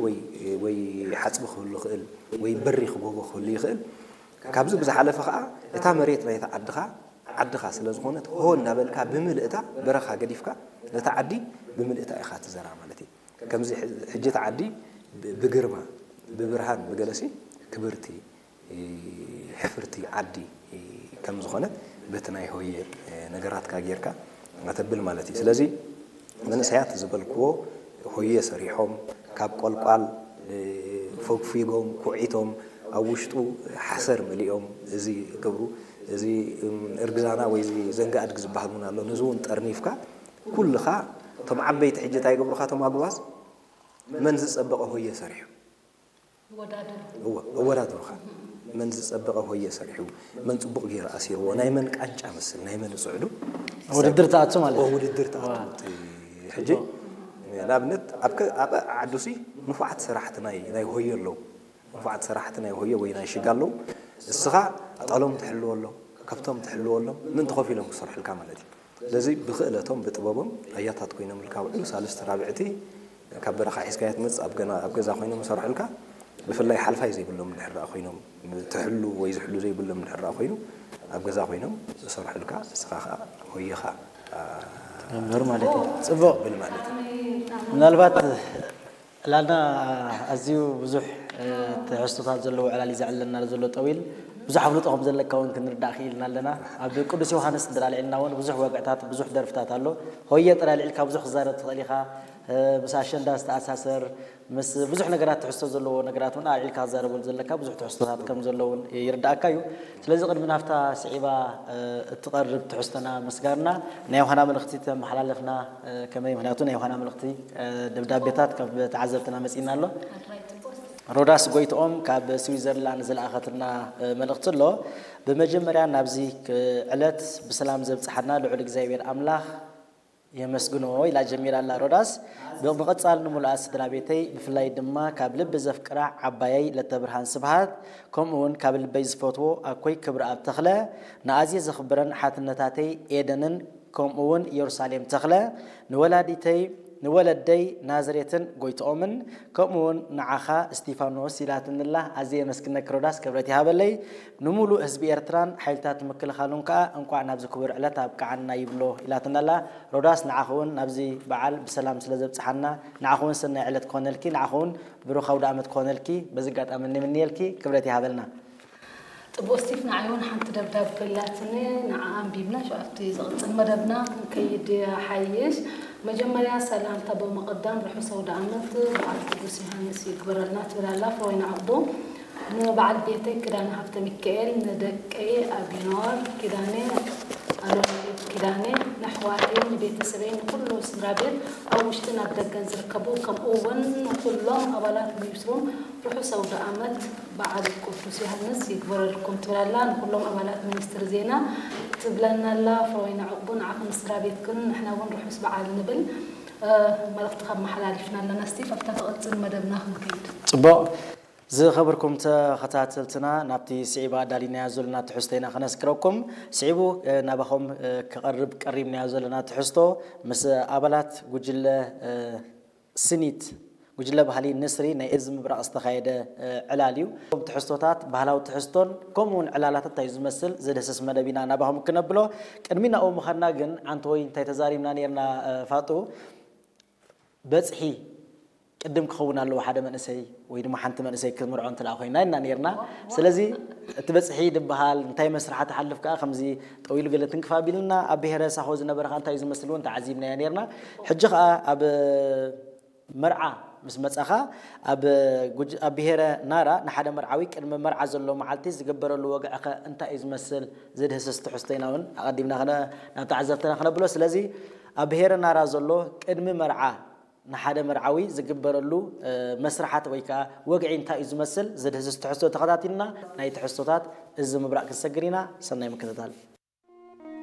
ወይ ወይ ሓፅቢ ክህሉ ይኽእል ወይ በሪኽ ጎቦ ክህሉ ይኽእል። ካብዚ ብዝሓለፈ ከዓ እታ መሬት ናይቲ ዓድኻ ዓድኻ ስለ ዝኾነት ሆ እናበልካ ብምልእታ በረኻ ገዲፍካ ነታ ዓዲ ብምልእታ ኢኻ ትዘራ ማለት እዩ። ከምዚ ሕጂ እታ ዓዲ ብግርማ ብብርሃን ብገለሲ ክብርቲ ሕፍርቲ ዓዲ ከም ዝኾነት በቲ ናይ ሆየ ነገራትካ ጌርካ ኣተብል ማለት እዩ። ስለዚ መንእሰያት ዝበልክዎ ሆየ ሰሪሖም ካብ ቆልቋል ፈግፊጎም ኩዒቶም ኣብ ውሽጡ ሓሰር መሊኦም እዚ ገብሩ እዚ እርግዛና ወይ እዚ ዘንጋ ኣድጊ ዝበሃል እውን ኣሎ። ነዚ እውን ጠርኒፍካ ኩልኻ እቶም ዓበይቲ ሕጂ እንታይ ይገብሩኻ እቶም ኣጉባዝ መን ዝጸበቐ ሆየ ሰሪሑ እወ ኣወዳድሩኻ መን ዝጸበቐ ሆየ ሰሪሑ መን ጽቡቕ ገይሩ ኣሲርዎ ናይ መን ቃንጫ መስል ናይ መን ጽዕዱ ውድድር ትኣቱ ማለት እዩ። ውድድር ትኣቱ ሕጂ ንኣብነት ኣብ ዓዱሲ ንፉዓት ሰራሕቲ ናይ ሆየ ኣለዉ። ንፉዓት ሰራሕቲ ናይ ሆየ ወይ ናይ ሽጋ ኣለዉ። እስኻ ኣጣሎም ትሕልወሎም ከብቶም ትሕልወሎም ምእንቲ ኮፍ ኢሎም ክሰርሑልካ ማለት እዩ። ስለዚ ብኽእለቶም ብጥበቦም ኣያታት ኮይኖምልካ ውዕሉ ሳልስቲ ራብዕቲ ካብ በረኻ ሒዝካያ ትመጽእ ኣብ ገና ኣብ ገዛ ኮይኖም ዝሰርሑልካ ብፍላይ ሓልፋይ ዘይብሎም ድሕር ደኣ ኮይኖም ትሕሉ ወይ ዝሕሉ ዘይብሎም ድሕር ደኣ ኮይኑ ኣብ ገዛ ኮይኖም ዝሰርሑልካ እስኻ ከዓ ሆየኻ ትገብር ማለት እዩ። ጽቡቕ ብል ማለት እዩ። ምናልባት ዕላልና ኣዝዩ ብዙሕ ትሕዝቶታት ዘለዎ ዕላል እዩ ዘዕለና ዘሎ ጠዊል ብዙሕ ኣፍልጦ ከም ዘለካ እውን ክንርዳእ ክኢልና ኣለና። ኣብ ቅዱስ ዮሃንስ እንድራልዒልና እውን ብዙሕ ወግዕታት ብዙሕ ደርፍታት ኣሎ። ሆየ ጥራይ ኣልዒልካ ብዙሕ ክዛረብ ትኽእል ኢኻ። ምስ ኣሸንዳ ዝተኣሳሰር ምስ ብዙሕ ነገራት ትሕዝቶ ዘለዎ ነገራት እውን ኣልዒልካ ክዛረበሉ ዘለካ ብዙሕ ትሕዝቶታት ከም ዘሎ እውን ይርዳእካ እዩ። ስለዚ ቅድሚ ናብታ ስዒባ እትቐርብ ትሕዝቶና ምስጋርና ናይ ዮሃና መልእኽቲ ተመሓላለፍና ከመይ ምክንያቱ ናይ ዮሃና መልእኽቲ ደብዳቤታት ካብ ተዓዘብትና መጺእና ኣሎ። ሮዳስ ጎይትኦም ካብ ስዊዘርላንድ ዝለኣኸትና መልእኽቲ ኣሎ። ብመጀመርያ ናብዚ ዕለት ብሰላም ዘብጽሓና ልዑል እግዚኣብሔር ኣምላኽ የመስግኖ ኢላ ጀሚራ ኣላ ሮዳስ። ብምቕጻል ንሙሉኣት ስድራ ቤተይ ብፍላይ ድማ ካብ ልቢ ዘፍቅራ ዓባየይ ለተብርሃን ስብሃት ከምኡ እውን ካብ ልበይ ዝፈትዎ ኣኮይ ክብረኣብ ተኽለ ንኣዝየ ዘኽብረን ሓትነታተይ ኤደንን ከምኡ እውን ኢየሩሳሌም ተኽለ ንወላዲተይ ንወለደይ ናዝሬትን ጎይትኦምን ከምኡ እውን ንዓኻ እስቲፋኖስ ኢላትንላ ኣዝየ የመስግነኪ ሮዳስ ክብረት ይሃበለይ። ንሙሉእ ህዝቢ ኤርትራን ሓይልታት ምክልኻሉን ከኣ እንቋዕ ናብዚ ክቡር ዕለት ኣብቅዓና ይብሎ ኢላትናላ። ሮዳስ ንዓኺ እውን ናብዚ በዓል ብሰላም ስለ ዘብጽሓና ንዓኺ እውን ሰናይ ዕለት ክኾነልኪ ንዓኺ እውን ብሩኽ ኣውደ ኣመት ክኾነልኪ በዚ ኣጋጣሚ ንምንየልኪ ክብረት ይሃበልና። ጽቡቕ ስቲፍ ንዓይ እውን ሓንቲ ደብዳብ ከላትኒ ንዓ ኣንቢብና ሽዑ ኣብቲ ዝቕጽል መደብና ክንከይድ ይሓይሽ። መጀመርያ ሰላምታ ብምቕዳም ርሑስ ኣውደ ኣመት በዓል ቅዱስ ዮሃንስ ይግበረልና ትብል ኣላ ፍሮይና ዕቕቡ። ንበዓል ቤተይ ኪዳነ ሃብተሚካኤል፣ ንደቀይ ኣቢኖር ኪዳነ፣ ኣሎሚኤል ኪዳነ፣ ንኣሕዋተይን ንቤተሰበይን ንኹሉ ስድራ ቤት ኣብ ውሽጥን ኣብ ደገን ዝርከቡ ከምኡ እውን ንኹሎም ኣባላት ሚኒስትሮም ርሑስ ኣውደ ኣመት በዓል ቅዱስ ዮሃንስ ይግበረልኩም ትብል ኣላ። ንኹሎም ኣባላት ሚኒስትሪ ዜና ትብለና ኣላ። ፍሮይና ዕቕቡ ንዓኽን ንስድራ ቤትክን ንሕና እውን ርሑስ በዓል ንብል መልእኽቲ ካብ መሓላሊፍና ኣለና። ስቲፍ ኣብታ ትቕጽል መደብና ክንከይድ። ጽቡቕ ዝኸበርኩም ተኸታተልትና ናብቲ ስዒባ ኣዳሊናዮ ዘለና ትሕዝቶ ኢና ከነስክረኩም። ስዒቡ ናባኹም ክቐርብ ቀሪብናዮ ዘለና ትሕዝቶ ምስ ኣባላት ጉጅለ ስኒት ጉጅለ ባህሊ ንስሪ ናይ እዚ ምብራቕ ዝተኻየደ ዕላል እዩ። እቶም ትሕዝቶታት ባህላዊ ትሕዝቶን ከምኡ እውን ዕላላት እንታይ እዩ ዝመስል ዝድህስስ መደብ ኢና ናባኹም ክነብሎ። ቅድሚ ናብኡ ምኻድና ግን ዓንተወይ እንታይ ተዛሪብና ነርና ፋጡ በጽሒ ቅድም ክኸውን ኣለዎ ሓደ መንእሰይ ወይ ድማ ሓንቲ መንእሰይ ክትምርዖ እንተ ኮይና ኢና ነርና። ስለዚ እቲ በጽሒ ዝበሃል እንታይ መስርሓ ትሓልፍ ከዓ ከምዚ ጠዊሉ ገለ ትንክፍ ኣቢልና ኣብ ብሄረ ሳሆ ዝነበረ ከዓ እንታይ እዩ ዝመስል እውን ተዓዚብናዮ ነርና። ሕጂ ከዓ ኣብ መርዓ ምስ መጻኻ ኣብ ኣብ ብሄረ ናራ ንሓደ መርዓዊ ቅድሚ መርዓ ዘሎ መዓልቲ ዝግበረሉ ወግዕኸ እንታይ እዩ ዝመስል ዝድህስስ ትሕዝቶ ኢና እውን ኣቐዲምና ናብ ተዓዘብትና ክነብሎ። ስለዚ ኣብ ብሄረ ናራ ዘሎ ቅድሚ መርዓ ንሓደ መርዓዊ ዝግበረሉ መስርሓት ወይ ከዓ ወግዒ እንታይ እዩ ዝመስል ዝድህስስ ትሕዝቶ ተኸታቲልና ናይ ትሕዝቶታት እዚ ምብራቕ ክንሰግር ኢና። ሰናይ ምክትታል።